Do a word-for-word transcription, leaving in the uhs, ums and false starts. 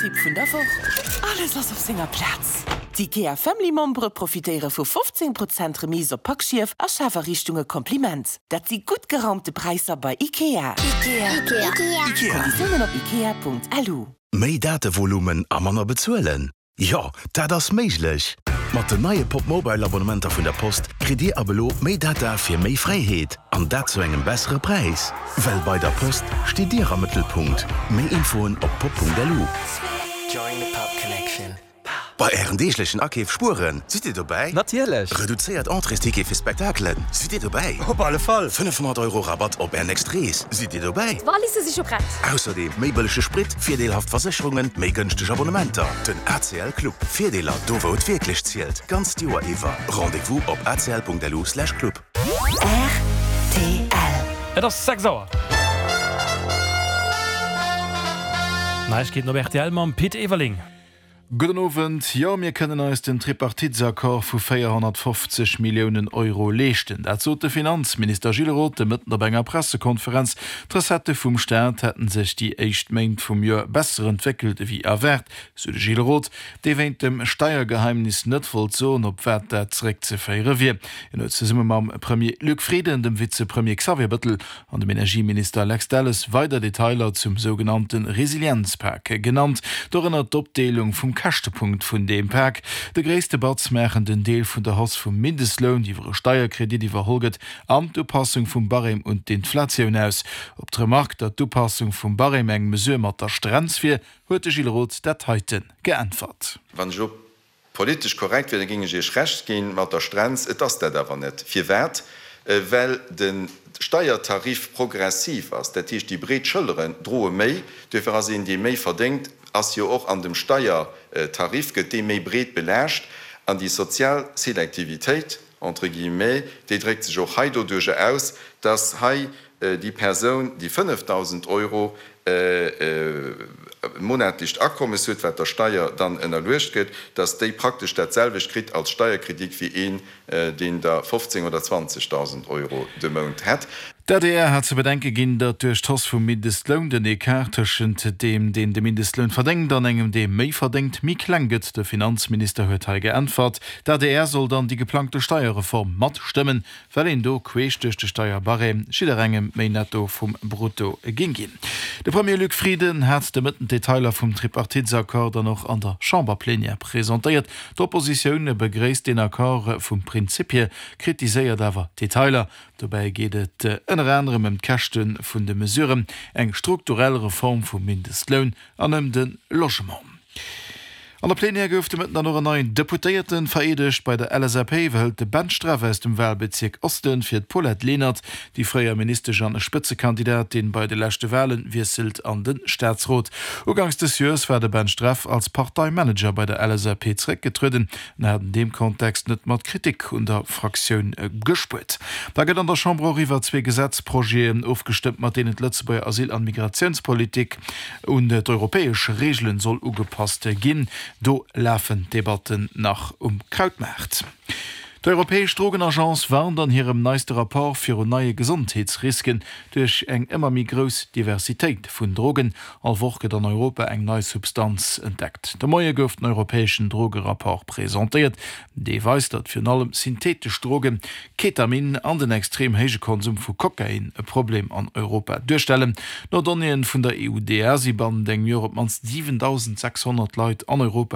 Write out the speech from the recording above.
Tipp vun der Woch. Alles ass op senger Plaz. D'IKEA Family Membere profitéiere vu fofzéng Prozent Remise op Packschief a Schafariichtunge Kompliment. Dat si gutt geraumte Präisser bei IKEA. IKEA. IKEA. Konditiounen op ikea.lu. Méi Datevolumen a manner bezuelen? Jo, dat ass méiglech! Mat den neie Pop Mobile Abonnementer vun der Post kritt Dir ab elo méi Data fir méi Fräiheet, an dat zu engem bessere Präis. Well bei der Post steet Dir am Mëttelpunkt. Méi Infoen op pop Punkt lu. Join the Pop Connection. Bei Ären deeglechen Akeef spueren, sidd Dir dobäi? Natierlech! Reduzéiert Entréesticket fir Spektakelen, sidd Dir dobäi? Op alle Fall! fënnefhonnert Euro Rabatt op Är nächst Rees, sidd Dir dobäi? D'Walisse si scho prett! Ausserdeem méi bëllege Sprit, virdeelhaft Versécherungen, méi gënschteg Abonnementer. Den A C L Club. Virdeeler do wou et wierklech zielt. D'ganzt Joer iwwer. Rendez-vous op A C L Punkt L U slash club. R T L. Et ass sechs Auer. Neiegkeeten op R T L mam Pit Everling. Gudden Owend. Jo, mir kënnen eis den Tripartitesaccord vu véierhonnertfofzeg Milliounen Euro leeschten. Dat sot de Finanzminister Gilles Roth de Mëtten op enger Pressekonferenz. D'Recettë vum Staat hätten sech déi éischt Méint vum Joer besser entwéckelt ewéi erwaart, sou de Gilles Roth, dee wéint dem Steiergeheimnis net wollt soen, op wat dat zeréckzeféiere wier. Hien huet zesumme mam Premier Luc Frieden, dem Vizepremier Xavier Bettel an dem Energieminister Lex Delles weider Detailer zum sougenannte Resilienzpak genannt, dorënner d'Opdeelung vum Käschtepunkt vun deem Pak. De gréisste Batz maachen den Deel vun der Hausse vum Mindestloun, déi iwwer e Steierkredit iwwerholl gëtt, an d'Upassung vum Barème un d'Inflatioun aus. Op d'Remark, datt d'Upassung vum Barème eng Mesure mat der Strenz wier, huet de Gilles Roth dat heite geäntwert. Wann ech elo politesch korrekt wier, da géing ech Iech Recht ginn mat der Strenz. Et ass dat awer net. Firwat? Well de Steiertarif progressiv ass. Dat heescht, déi breet Schëlleren droe méi. Duerfir ass een, dee méi verdéngt, ass jo och an dem Steiertarif, gëtt dee méi breet belaascht. An déi sozial Selektivitéit, entre guillemets, déi dréckt sech och hei doduerjer aus, dass hei déi Persoun, déi fënnefdausend Euro monatlecht Akommes huet, wat der Steier dann ënnerluecht gëtt, dass déi praktesch dat selwecht kritt als Steierkredit wéi een, deen der fofzéng oder zwanzegdausend Euro de Mount hätt. D'A D R hat ze bedenke ginn, datt duerch d'Hausse vum Mindestloun den Ecart tëschent deem, deen de Mindestloun verdéngt, an engem, dee méi verdéngt, méi kleng gëtt. De Finanzminister huet hei geäntwert, d'A D R soll dann déi geplangte Steierreform matstëmmen, well een do queesch duerch de Steierbarème jidderengem méi Netto vum Brutto géing ginn. De Premier Luc Frieden hat de Mëtten d'Detailer vum Tripartitesaccord dann och an der Chamberplenière presentéiert. D'Oppositioun begréisst den Accord vum Prinzip hier, kritiséiert awer d'Detailer. Dobäi geet et ënner anerem ëm d'Käschte vun de Mesuren, eng strukturell Reform vum Mindestloun an ëm de Logement. An der Plenière gouf de Mëtten dann och en neien Deputéierte vereedegt. Bei der L S A P iwwerhëlt de Ben Streff aus dem Walbezierk Osten fir d'Paulette Lenert, déi fréier Ministesch an Spëtzekandidatin bei de leschte Walen, wiesselt an de Staatsrot. Uganks des Joers war de Ben Streff als Parteimanager bei der L S A P zeréckgetrueden an hat an deem Kontext net mat Kritik un der Fraktioun gespuert. Da gëtt an der Chamber och iwwer zwee Gesetzprojeten ofgestëmmt, mat deenen d'Lëtzebuerger Asyl an Migratiounspolitik un d'europäesch Reegelen soll ugepasst ginn. Do lafen d'Debatten nach um Krautmaart. D'Europäesch Drogenagence warnt an hirem neiste Rapport virun neie Gesondheetsrisken duerch eng ëmmer méi grouss Diversitéit vun Drogen. All Woch gëtt an Europa eng nei Substanz entdeckt. De Moie gouf den europäeschen Drogerapport presentéiert. Dee weist, datt virun allem syntheetesch Drogen, Ketamin an den extrem héije Konsum vu Kokain e Problem an Europa duerstellen. No Donnéeë vun der E U D A si bannent engem Joer op d'mannst siwentausensechshonnert Leit an Europa